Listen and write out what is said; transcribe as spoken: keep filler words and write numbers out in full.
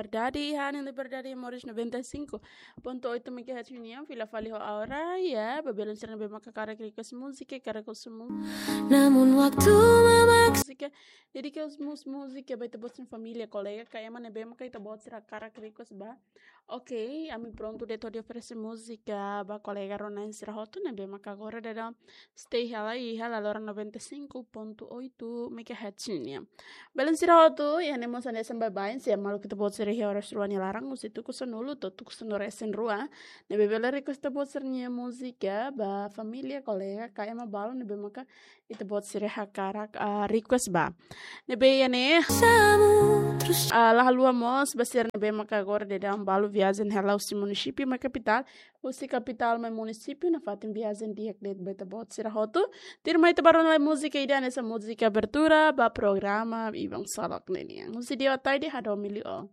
Liberdade, iha Rádiu Liberdade, Moris noventa e cinco ponto oito megahertz nian, fila fali ho Aura, ya, ba belun sira ne'ebé maka hakarak request múzika, hakarak husu mu- Múzika, dedika husi múzika ba ita-boot sira-nia família, kolega, ka ema ne'ebé maka ita-boot sira hakarak request ba. Ok, ami prontu de'it hodi oferese múzika ba kolega rona-na'in sira hotu ne'ebé maka agora daudaun stay hela iha Laloran noventa e cinco ponto oito megahertz nian. Belun sira hotu, iha ne'e mós hanesan baibain, se maluk ita-boot sira iha oras rua nia laran, husi tuku sanulu to'o tuku sanulu-resin-rua, ne'ebé bele request ita-boot sira-nia múzika ba família, kolega, ka ema balu ne'ebé maka ita-boot sira hakarak, ah, request ba. Ne'ebé iha ne'e, ah, la haluha mós ba sira ne'ebé maka agora daudaun balu viajen hela husi munisípiu mai kapitál, husi kapitál mai munisípiu, nafatin viajen di'ak de'it ba ita-boot sira hotu. Tuirmai ita bá rona lai múzika ida, hanesan múzika abertura ba programa Iban Salok ne'e nian. Husi Dio Ataide, Hadomi Liu.